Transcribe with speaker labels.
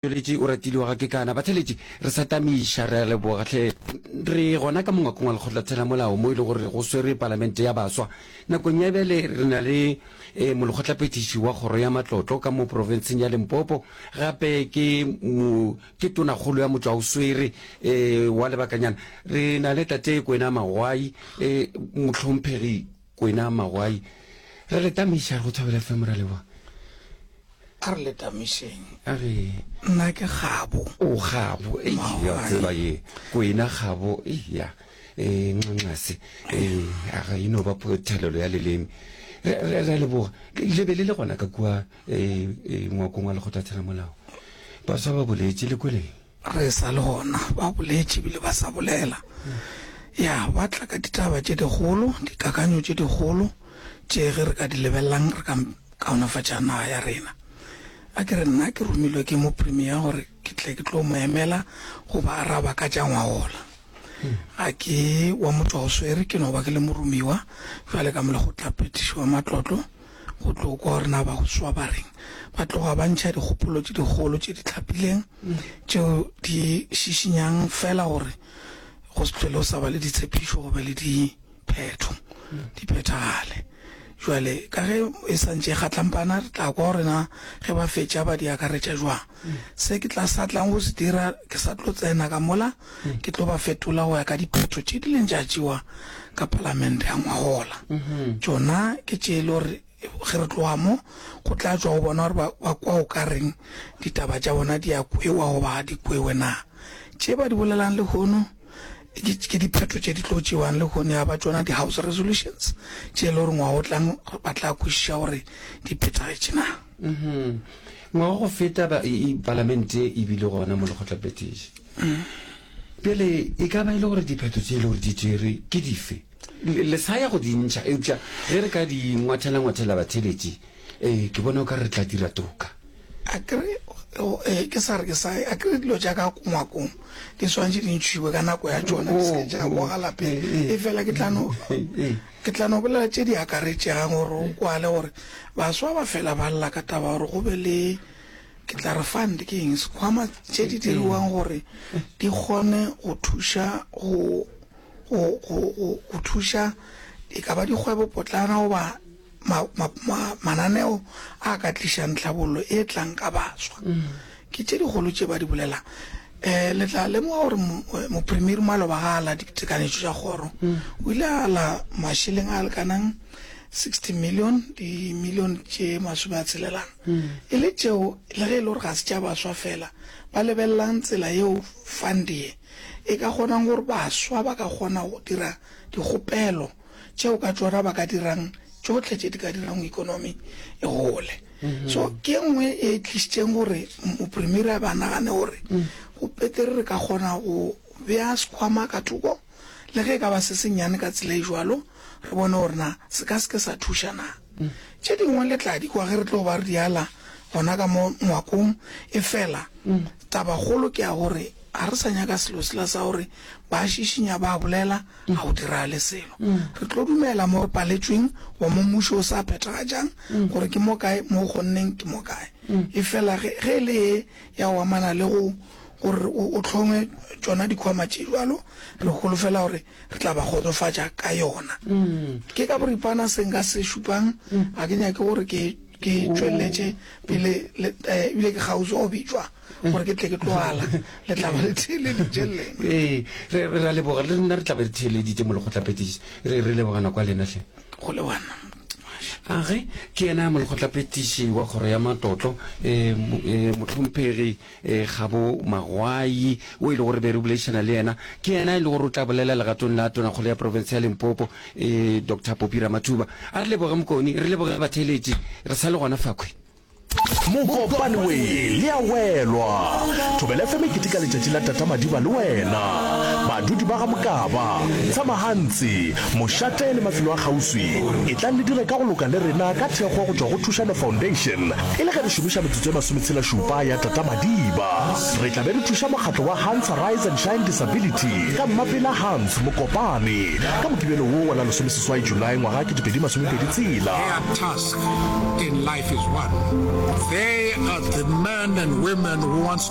Speaker 1: Tšweletše o ratile wa ga Kekana. Batheletši, re sa tamiša, re a leboga hle. Re gona ka mongwakong wa lekgotlatheramolao mo e le gore go swerwe palamente ya baswa. Nakong ya bjale re na le eh, molekgotlaphethiši wa kgoro ya matlotlo ka mo profenseng ya Limpopo, gape ke mo, ke tonakgolo ya motšwaoswere eh, wa lebakanyana. Re na le tate Kwena Magwai, eh, mohlomphegi Kwena Magwai. Re le tamiša, re go Thobela FM, re a leboga.
Speaker 2: A re le tamišeng.
Speaker 1: A re.
Speaker 2: Nna ke Kgabo.
Speaker 1: O Kgabo, ei, ya tseba ye. Kwena Kgabo, ei, ya. Eh, nxanxase. Eh, a ga e no ba thelelo ya leleme. Re, re, re a leboga. Le be le le gona ka kua, eh, eh, ngwakong wa lekgotlatheramolao. Baswa ba boletše, le kweleng?
Speaker 2: Re sa le gona, ba boletše ebile ba sa bolela. Ya, ba tla ka ditaba tše dikgolo, dikakanyo tše dikgolo tše ge re ka di lebelelang re ka kaonafatša naga ya rena. A ke re nna ke romilwe ke mopremier gore ke tle ke tlo mo emela go ba araba ka tša ngwagola. Ga ke wa motšwaoswere, ke no ba ke le moromiwa bjale ka molekgotlaphethiši wa matlotlo go tlo kwa gore na baswa ba reng. Ba tloga ba ntšha dikgopolo tše dikgolo tše di hlapileng tšeo di šišinyang fela gore go se hlwele go sa ba le ditshepišo go be le diphetho di phethagale. Jwale ka ge e sa ntše e kgatlampana re tla kwa gore na ge ba fetša ba di akaretša jwang. Se ke tla sa tlang go se dira ke sa tlo tsena ka mola ke tlo ba fetola go ya ka diphetho tše di leng tša tšewa ka palamente ya ngwagola. Tšona ke tše e le gore Ge re tloga mo, go tla tšwa go bona gore ba, ba kwa o ka reng ditaba tša bona di a kwewa goba ga di kwewe na. Tše ba di bolelang lehono ke, ke diphetho tše di tlo tšewang lehono ya ba tšona di-house resolutions tše e le gore ngwaga o tlang ba tla kwešiša gore di phethagetše na.
Speaker 1: Mhm. Ngwaga go feta ba, e, e, palamente e bile gona mo lekgotlaphethiši. Bjale e ka ba e le gore diphetho tše e le gore di tšerwe ke dife? Le sa ya go di ntšha, eupša ge re ka di ngwathela-ngwathela batheeletši, ee, ke bona o ka re re tla dira toka.
Speaker 2: A ke re, ee, ke sa re ke sa, a ke re dilo tša ka ngwakong di swanetše di ntšhiwe ka nako ya tšona, di se ke tša boga lapeng. Efela ke tla no, ke tla no bolela tše di akaretšegang gore o kwale gore baswa ba fela ba lla ka taba ya gore go be le, ke tla re fund ke eng, sekhwama tše di diriwang gore di kgone go thuša go go, go, go, go thuša e ka ba dikgwebopotlana goba ma, ma, ma, mananeo a ka tlišang tlhabollo e tlang ka baswa. Ke tše dikgolo tše ba di bolelang. Um le tla lemoga gore eh, mopremier maloba ga a la ditekanyetšo tša kgoro o ile a la mašeleng a lekanang 60 million dimilion tše masome a tshelelang e le tšeo le ge e le gore ga se tša baswa fela ba lebelelang tsela yeo fund ye e ka kgonang gore baswa ba ka kgona go dira dikgopelo tšeo ka tšona ba ka dirang tšohle tše di ka dirang ekonomi e gole. So ke e nngwe e tlišitšeng gore mopremiere a ba nagane gore go petere re ka kgona go bea sekhwama ka thoko le ge e ka ba se sennyane ka tsela e jwalo, re bone gore na se ka se ke sa thuša na. Tše dingwe le tla di kwa ge re tlo ba re di ala gona ka mo ngwakong, efela tabakgolo ke ya gore ga re sa nyaka selo sela sa gore ba šišinya ba bolela ga go diragale selo. Re tlo dumela mo re paletšweng goba mo mmušo o sa phethagatšang gore ke mo kae mo o kgonneng ke mo kae. Efela ge ge e le ye ya go amana le go gore o hlongwe tšona dikhwama tše bjalo, re holofela gore re tla ba kgotsofatša ka yona. Ke ka boripana se nka se šupang, ga ke nyake gore ke ke tšweletše pele eh, ebile ke kgauswi go bitšwa gore
Speaker 1: ke
Speaker 2: tle ke tlo ala le tla ba le theeleditše lena.
Speaker 1: Ee, re re a leboga le nna re tla be re theeleditše molekgotlaphethiši re re leboga nako ya lena hle.
Speaker 2: Go lebana.
Speaker 1: A ge ke yena molekgotlaphethiši wa kgoro ya matlotlo um mohlomphegi E, Kgabo Magwai, o e le gore be re boledišana le yena, ke yena e le gore o tla bolela legatong la Tonakgolo ya profense ya Limpopo, e, Doctor Poppy Ramathuba. A re leboge Mokoni, re leboge batheeletši, re sa le gona fakhwi.
Speaker 3: Mokopane we le a welwa. Thobela FM e keteka letšatši la Tata Madiba le wena. Badudi ba ga Mokaba, Tshamahantsi, Mošate le mafelo a kgauswi, etlang le dire ka go loka le rena ka thekgo go tšwa go Thušano Foundation e le ge re šomiša metsotso e masometshelašupa ya Tata Madiba. Re tla be re thuša mokgatlo wa Hans Rise and Shine Disability ka Mmapela Hans Mokopane ka Mokibelo wo wa la lesomeseswai Julae ngwaga 2026.
Speaker 4: Their task in life is one. They are the men and women who wants to.